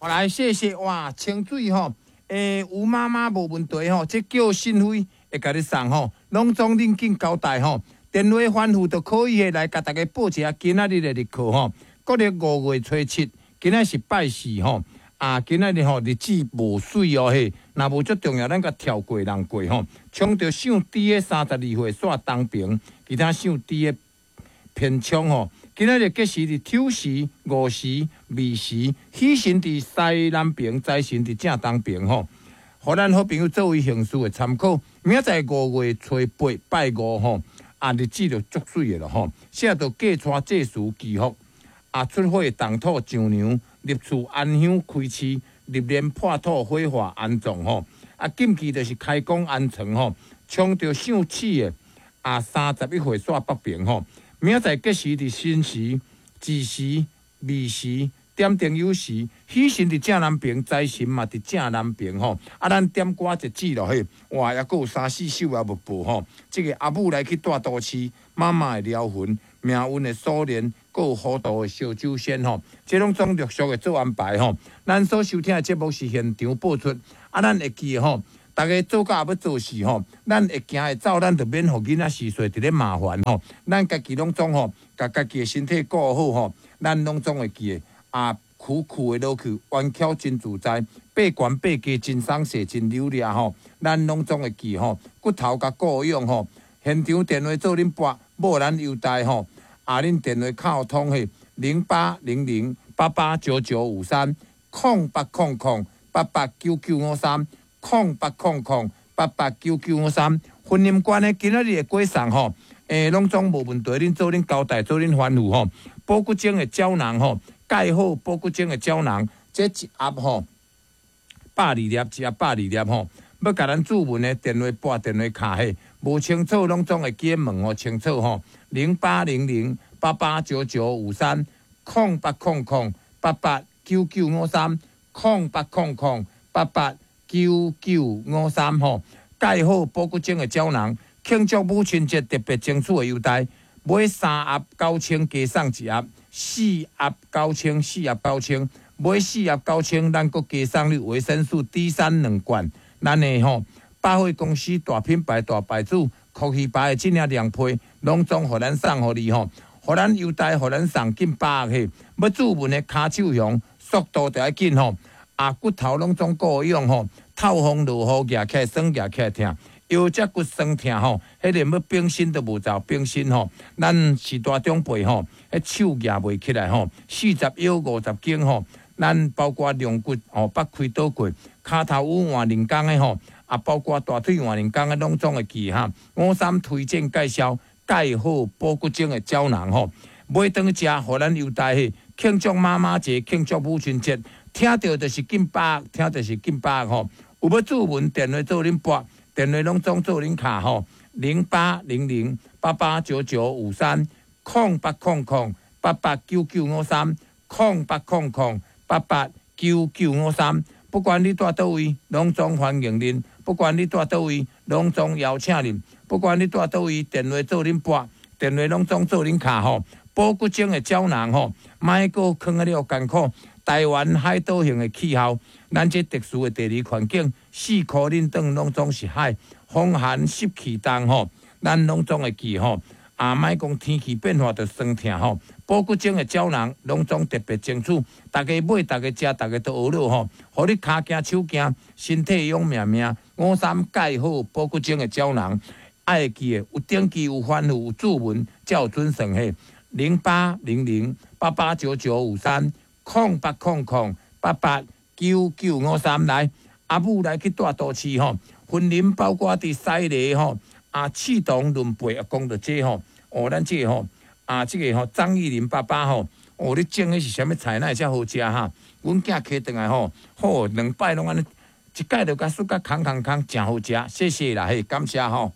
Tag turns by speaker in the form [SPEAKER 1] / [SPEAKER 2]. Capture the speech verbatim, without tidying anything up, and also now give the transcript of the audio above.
[SPEAKER 1] 好來，謝謝哇，清水吼，欸，吳媽媽無問題吼，這叫信輝會共你送吼，攏總恁緊交代吼，電話反覆就可以的來共大家報一下今仔日的日課吼，國曆五月初七，今仔是拜四吼，啊，今仔日吼日子無媠哦嘿，若無足重要，咱共跳過人過吼，衝著姓豬的三十二歲煞東平，其他姓豬的偏衝吼。今仔日吉時佇丑時、午時、未時，喜神佇西南爿，災神佇正東爿吼。予咱好朋友作為行事的參考。明仔載五月初八拜五吼，啊日子就足媠的咯吼。寫著嫁娶祭祀祈福，啊出火動土丈娘，入厝安香開市，入殮破土火化安葬吼。啊禁忌就是開工安床吼，衝著姓鼠的啊三十一歲煞北爿吼。明仔載吉時佇申時、子時、未時、點燈酉時，喜神佇正南爿，財神嘛佇正南爿吼。啊，咱點歌一節落去，哇，猶閣有三四首猶無報吼。這個阿母來去蹛都市，媽媽的療魂，命運的鎖鏈，閣有糊塗的燒酒仙吼。這攏總陸續會做安排吼。咱所收聽的節目是現場播出，啊，咱會記得吼。逐家做甲欲做事吼，咱會行會走，咱就免予囡仔序細佇咧麻煩吼。咱家己攏總吼，共家己的身體顧好吼，咱攏總會記得啊，苦苦的落去，彎巧真自在，爬懸爬低真鬆勢真溜掠吼。咱攏總會記吼，骨頭共顧養吼。現場電話做恁撥，無咱優待吼。啊，恁電話敲通去零八零零八八九九五三空八空空八八九九五三。空八空空八八九九五三，婚姻觀的今仔日的過送吼，欸，攏總無問題，恁做恁交代，做恁吩咐吼。保骨精的膠囊吼，蓋好保骨精的膠囊，這一盒吼百二粒，一盒百二粒吼。欲共咱注文的電話撥電話卡嘿，無清楚攏總會記問予清楚吼。零八零零八八九九五三，空八空空八八九九五三，空八空空八八九九五三吼，蓋好保骨精的膠囊，慶祝母親節特別爭取的優待，買三盒九千加送一盒，四盒九千，四盒九千，買四盒九千，咱閣加送你維生素 D 三兩罐。咱的吼百貨公司大品牌大牌子，福魚牌的這領涼被，攏總予咱送予你吼，予咱優待，予咱送近百盒。欲注文的跤手熊，速度著愛緊吼。啊，骨頭攏總顧養吼，透風落雨，舉起來酸，舉起來疼，腰脊骨酸疼吼，彼個欲變身都無走變身吼。咱是大長輩吼，彼手舉袂起來吼，四十腰五十肩吼，咱包括龍骨吼，捌開刀過，跤頭趺換兩工的吼，啊，包括大腿換兩工的，攏總會記哈。五三推薦介紹蓋好保骨精的膠囊吼，買轉去食，予咱優待去慶祝媽媽節，慶祝母親節。聽著就是近百，聽著是近百吼。有欲注文電話做恁撥，電話攏總做恁敲吼。零八零零八八九九五三，空八空空八八九九五三，空八空空八八九九五三。不管你蹛佗位，攏總歡迎恁；不管你蹛佗位，攏總邀請恁；不管你蹛佗位，電話做恁撥，電話攏總做恁敲吼。保骨精的膠囊吼，莫閣囥啊了艱苦。台灣海島型的氣候，咱這特殊的地理環境，四箍恁轉攏總是海，風寒濕氣重吼，咱攏總會記吼。啊，莫講天氣變化就酸疼吼，保骨精的膠囊攏總特別爭取，逐家買，逐家食，逐家都學了吼，予你跤行手行，身體勇命命。五三蓋好保骨精的膠囊，愛記的有登記有吩咐有注文，才有準算嘿。零八零零八八九九五三。空八空空八八九九五三來，阿母來去蹛都市吼，雲林包括佇西螺吼，啊，刺桐崙背啊，講著這吼，哦，咱這個吼，啊，這個吼，張玉林爸爸吼，哦，你種的是啥物菜，哪會遮好食哈？阮囝騎轉來吼，好兩擺攏按呢，一擺就共欶甲空空空，誠好食，謝謝啦，嘿，感謝吼。